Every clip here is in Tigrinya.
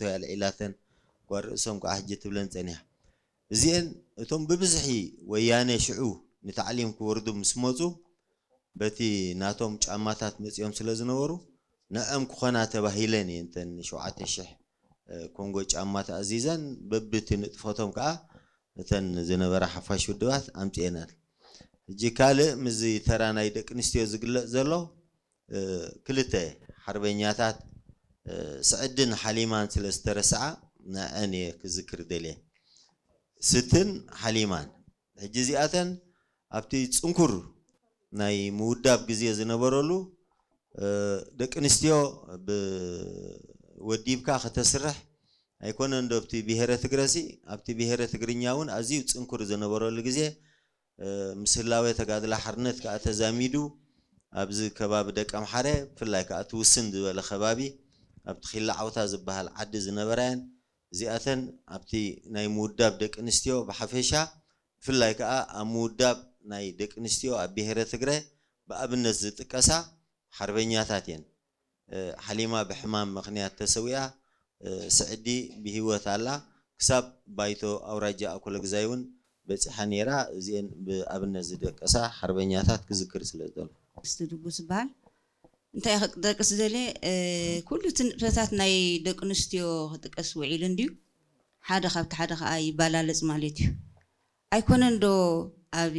ሕቶ እያ ኣልዒላተን። ጓል ርእሶም ከዓ ሕጂ ትብለን ጸኒሓ። እዚአን እቶም ብብዝሒ ወያነ ሽዑ ንታዕሊም ክወርዱ ምስ መጹ፣ በቲ ናቶም ጫማታት መጺኦም ስለ ዝነበሩ፣ ንዕኦም ክኾና ተባሂለን እየን እተን ሸውዓተ ሽሕ ኮንጎ ጫማ ተኣዚዘን። በብቲ ንጥፈቶም ከዓ እተን ዝነበራ ሓፋሽ ውድባት ኣምጺኤናል። ሕጂ ካልእ ምስዚ ተራ ናይ ደቂ ኣንስትዮ ዝግለጽ ዘሎ፣ እ፣ ክልተ ሓርበኛታት፣ እ፣ ስዕድን ሓሊማን ስለ ዝተረስዓ፣ ንዐን እየ ክዝክር ደልየ። ስትን ሓሊማን። ሕጂ እዚኣተን ኣብቲ ጽንኩር ናይ ምውዳብ ግዜ ዝነበረሉ፣ እ፣ ደቂ ኣንስትዮ ብ-፣ ወዲብካ ከተስርሕ ኣይኮነን ዶ ኣብቲ ብሄረ ትግረሲ፣ ኣብቲ ብሄረ ትግርኛ እውን ኣዝዩ ጽንኩር ዝነበረሉ ግዜ፣ እ፣ ምስ ህላዌ ተጋድላ ሓርነት ከኣ ተዛሚዱ፣ ኣብዚ ከባቢ ደቀምሓረ፣ ብፍላይ ከኣ እቲ ውስን ዝበለ ከባቢ፣ ኣብቲ ኺላ ዓውታ ዝበሃል ዓዲ ዝነበራ እየን። እዚኣተን ኣብቲ ናይ ምውዳብ ደቂ ኣንስትዮ ብሓፈሻ፣ ብፍላይ ከኣ ኣብ ምውዳብ ናይ ደቂ ኣንስትዮ ኣብ ብሄረ ትግረ ብኣብነት ዝጥቀሳ ሓርበኛታት እየን። እ፣ ሓሊማ ብሕማም ምኽንያት ተሰዊኣ፣ እ፣ ስዕዲ ብህይወት ኣላ። ክሳብ ባይቶ ኣውራጃ ኣኮለግዛይ እውን በጺሓ ነይራ። እዚአን ብኣብነት ዝደቀሳ ሓርበኛታት ክዝክር ስለ ዝደለኹ። እስቲ ድጉስ ዝበሃል እንታይ ክጠቅስ ደልየ፣ እ፣ ኩሉ እቲ ንጥፈታት ናይ ደቂ ኣንስትዮ ክጥቀስ ውዒሉ እንድዩ። ሓደ ካብቲ ሓደ ከኣ ይባላለጽ ማለት እዩ። ኣይኮነን ዶ ኣብ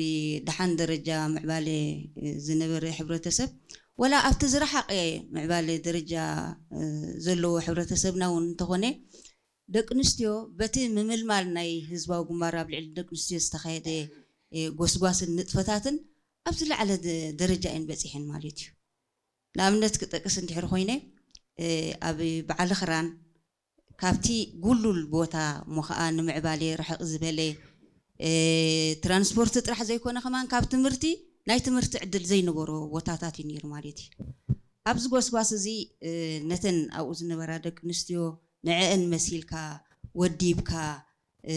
ደሓን ደረጃ ምዕባለ ዝነበረ ሕብረተሰብ፣ ወላ ኣብቲ ዝረሓቐ ምዕባለ ደረጃ፣ እ፣ ዘለዎ ሕብረተሰብና እውን እንተኾነ፣ ደቂ ኣንስትዮ በቲ ምምልማል ናይ ህዝባዊ ግንባር ኣብ ልዕሊ ደቂ ኣንስትዮ ዝተኻየደ፣ እ፣ ጎስጓስን ንጥፈታትን ኣብ ዝለዓለ ደ-፣ ደረጃ እየን በጺሐን ማለት እዩ። ንኣብነት ክጠቅስ እንድሕር ኮይነ፣ እ፣ ኣብ በዓል ኽራን ካብቲ ጉሉል ቦታ እሞ ኸኣ ንምዕባለ ርሕቕ ዝበለ፣ እ፣ ትራንስፖርት ጥራሕ ዘይኮነ ከማን ካብ ትምህርቲ፣ ናይ ትምህርቲ ዕድል ዘይነበሮ ቦታታት እዩ ነይሩ ማለት እዩ። ኣብዚ ጎስጓስ እዚ፣ እ፣ ነተን ኣብኡ ዝነበራ ደቂ ኣንስትዮ ንዕአን መሲልካ፣ ወዲብካ፣ እ፣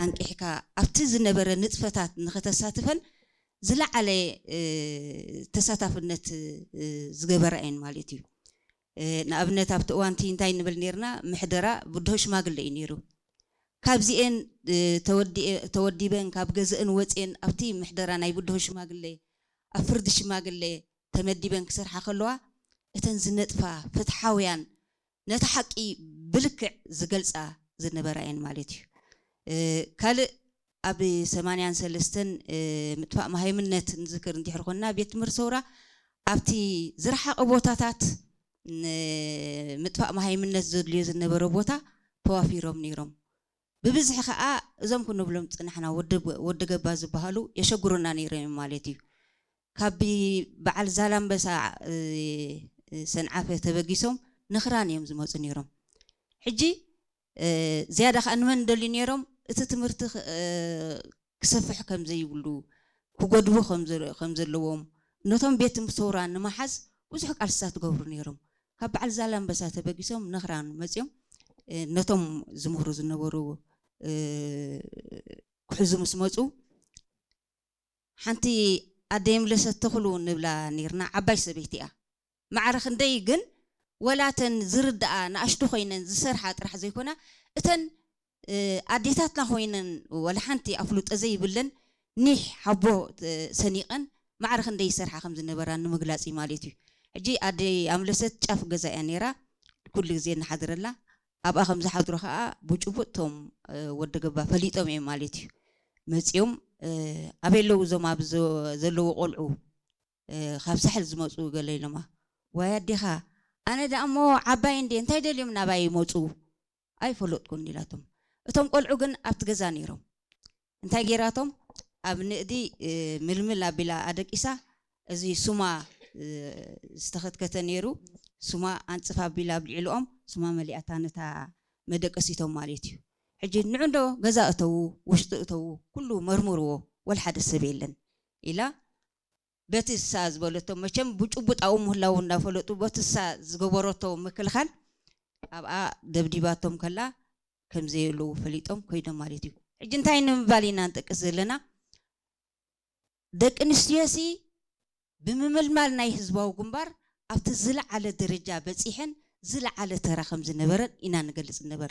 ኣንቂሕካ ኣብቲ ዝነበረ ንጥፈታት ንኸተሳትፈን ዝለዓለ፣ እ፣ ተሳታፍነት፣ እ፣ ዝገበራ እየን ማለት እዩ። እ፣ ንኣብነት ኣብቲ እዋንቲ እንታይ ንብል ነርና? ምሕደራ ብድሆ ሽማግለ እዩ ነይሩ። ካብዚኤን፣ እ፣ ተወዲኤ-፣ ተወዲበን ካብ ገዝአን ወፅኤን ኣብቲ ምሕደራ ናይ ብድሆ ሽማግለ፣ ኣብ ፍርዲ ሽማግለ ተመዲበን ክሰርሓ ከለዋ፣ እተን ዝነጥፋ ፍትሓውያን፣ ነቲ ሓቂ ብልክዕ ዝገልፃ ዝነበራ እየን ማለት እዩ። እ፣ ካልእ ኣብ ሰማንያን ሰለስተን፣ እ፣ ምጥፋእ መሃይምነት ንዝክር እንድሕር ኮንና፣ ቤት ትምህርቲ ሰውራ ኣብቲ ዝረሓቐ ቦታታት ንምጥፋእ መሃይምነት ዘድልዮ ዝነበረ ቦታ ተዋፊሮም ነይሮም። ብብዝሒ ኸኣ እዞም ክንብሎም ዝጽናሕና ወዲ፣ ወዲ ገባ ዝበሃሉ የሸግሩና ነይሮም እዮም ማለት እዩ። ካብ በዓል ዛላምበሳ፣ እ፣ ሰንዓፈ ተበጊሶም ንኽራን እዮም ዝመጹ ነይሮም። ሕጂ፣ እ፣ ዝያዳ ኸኣ ንመን ደልዩ ነይሮም? እቲ ትምህርቲ ኽ-፣ እ፣ ክሰፍሕ ከም ዘይብሉ፣ ክጎድቡ ከም ዘ-፣ ከም ዘለዎም፣ ነቶም ቤት ትምህርቲ ሰውራ ንምሓዝ ብዙሕ ቃልስታት ትገብሩ ነይሮም። ካብ በዓል ዛላምበሳ ተበጊሶም ንኽራን መጺኦም፣ እ፣ ነቶም ዝምህሩ ዝነበሩ፣ እ፣ ክሕዙ ምስ መጹ፣ ሓንቲ ኣደ የምለሰት ተኽሉ ንብላ ነይርና፣ ዓባይ ሰበይቲ እያ። ማዕረ ክንደይ ግን፣ ወላ እተን ዝርድኣ ንኣሽቱ ኮይነን ዝሰርሓ ጥራሕ ዘይኮና፣ እተን፣ እ፣ ኣዴታትና ኮይነን፣ ወላ ሓንቲ ኣፍልጦ ዘይብለን፣ ኒሕ ሓቦ፣ እ፣ ሰኒቐን ማዕረ ክንደይ ይሰርሓ ከም ዝነበራ ንምግላጽ እዩ ማለት እዩ። ሕጂ ኣደይ ኣምለሰት ጫፍ ገዛ እያ ነይራ፣ ኩሉ ግዜ ንሓድረላ። ኣብኣ ከም ዝሓድሩ ኸኣ ብጭቡጥ እቶም፣ እ፣ ወዲ ገባ ፈሊጦም እዮም ማለት እዩ። መጺኦም፣ እ፣ ኣበይ ኣለዉ እዞም ኣብ ዘ-፣ ዘለዉ ቆልዑ፣ እ፣ ካብ ሳሕል ዝመጹ ገለ ኢሎማ። ዋይ ኣዴኻ፣ ኣነ ደኣ እሞ ዓባይ እንድየ፣ እንታይ ደልዮም ናባይ ይመጹ? ኣይፈለጥኩን ኢላቶም። እቶም ቆልዑ ግን ኣብቲ ገዛ ነይሮም። እንታይ ገይራቶም? ኣብ ንእዲ፣ እ፣ ምልምል ኣቢላ ኣደቂሳ፣ እዚ ሱማ፣ እ፣ ዝተኸትከተ ነይሩ። ሱማ ኣንጽፍ ኣቢላ ኣብልዕልኦም፣ ሱማ መሊኣታ ነታ መደቀሲቶም ማለት እዩ። ሕጂ ንዑ እንዶ ገዛ እተዉ፣ ውሽጢ እተዉ፣ ኩሉ መርምርዎ፣ ወላ ሓደ ሰብ የለን ኢላ በቲ እሳ ዝበለቶ፣ መቸም ብጭቡጥ ኣብኡ ምህላዉ እንዳፈለጡ፣ በቲ እሳ ዝገበረቶ ምክልኻል ኣብኣ ደብዲባቶም ከላ ከም ዘየለዉ ፈሊጦም ኮይኖም ማለት እዩ። ሕጂ እንታይ ንምባል ኢና ንጠቅስ ዘለና? ደቂ ኣንስትዮሲ ብምምልማል ናይ ህዝባዊ ግንባር ኣብቲ ዝለዓለ ደረጃ በጺሐን ዝለዓለ ተራ ከም ዝነበረን ኢና ንገልጽ ንነበር።